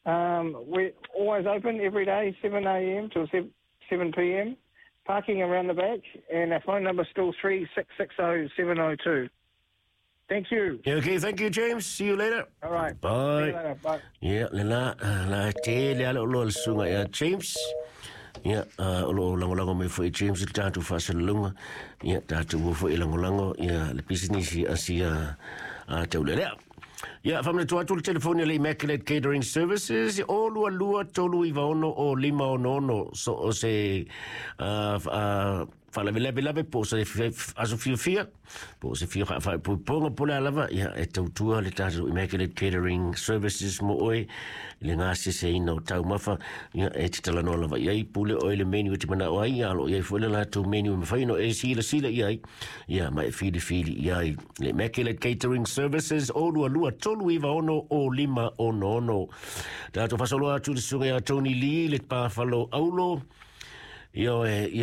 We're always open every day, 7 a.m. till 7 p.m. Parking around the back, and our phone number's still 3660702. Thank you. Okay, thank you, James. See you later. All right. Bye. See you later. Bye. Ia, lena, la tele ala o loa le susuga ia James. Ia, o lo o lagolago mai foi James i le tatou faasalalauga. Ia, tatou o foi e lagolago ia le pisinisi a sia a taulelea. Ia, faamanatu atu le telefoni a le Immaculate Catering Services, o 22 396 o 566, so o se faalavelave po o se aso fiafia, po o se fia faaipoipoga po o le a lava, ia, e tautua le tatou Immaculate Catering Services mo oe i le gaseseina o taumafa. Ia, e te talanoa lava i ai, pule oe i le menu e te manao ai, ia, o lo o i ai foi le latou menu e mafai ona e silasila i ai, ia, ma e filifili i ai. Le Immaculate Catering Services, o 22 396 o 566. Tatou faasolo atu i le susuga ia Tony Lee, le pafalo aulo. Ia,